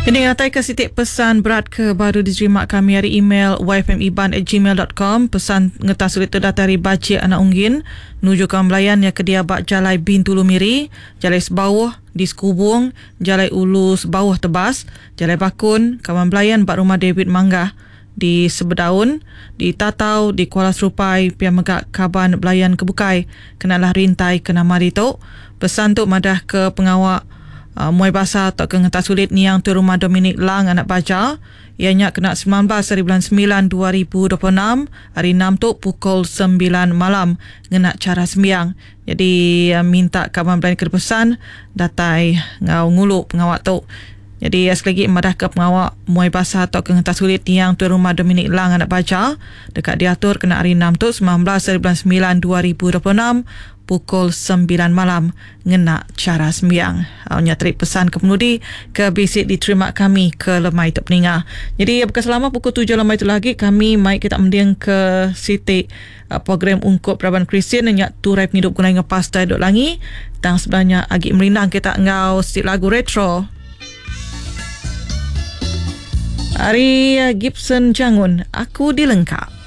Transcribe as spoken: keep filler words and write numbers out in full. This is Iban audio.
Ini ngatai ke sitik pesan berat ke baru diterima kami ari email yfmiban at gmail dot com. Pesan ngetas sulit tu datai ari Bajik Anak Unggin nuju kawan belayan yang kedia ba Jalai Bintulu Miri, Jalai Sebauh di Sekubung, Jalai Ulu Sebauh Tebas, Jalai Bakun, kawan belayan ba Rumah David Manggah di Sebedaun, di Tatau, di Kuala Serupai, pia mega kaban belayan ke bukai kenalah rintai ke nama ditu. Pesan tu madah ke pengawa Uh, muai basa atau ke ngetas sulit niang tu rumah Dominic Lang anak baja ianya kena sembilan belas hari bulan sembilan dua ribu dua puluh enam hari enam tu pukul sembilan malam ngena cara sembiang. Jadi uh, minta kaban belayan ke pesan datai ngau ngulu pengawak tu. Jadi sekali lagi madah ke pengawak muai basa atau ke ngetas sulit niang tu rumah Dominic Lang anak baja dekat diatur kena hari enam tu sembilan belas hari bulan sembilan dua ribu dua puluh enam pukul sembilan malam ngena cara sembiang. Uh, nyatri pesan ke penudi ke bisik diterima kami ke lemai tu peninga. Jadi bekas selama pukul tujuh lemai tu lagi kami mai kita mending ke siti uh, program ungkup Raban Kristian nyak turai penghidup guna dengan Pastor Dok Langi. Tang sebenarnya agi merindang kita ngau siti lagu retro. Ari Gibson Jangun, Aku Dilengkap.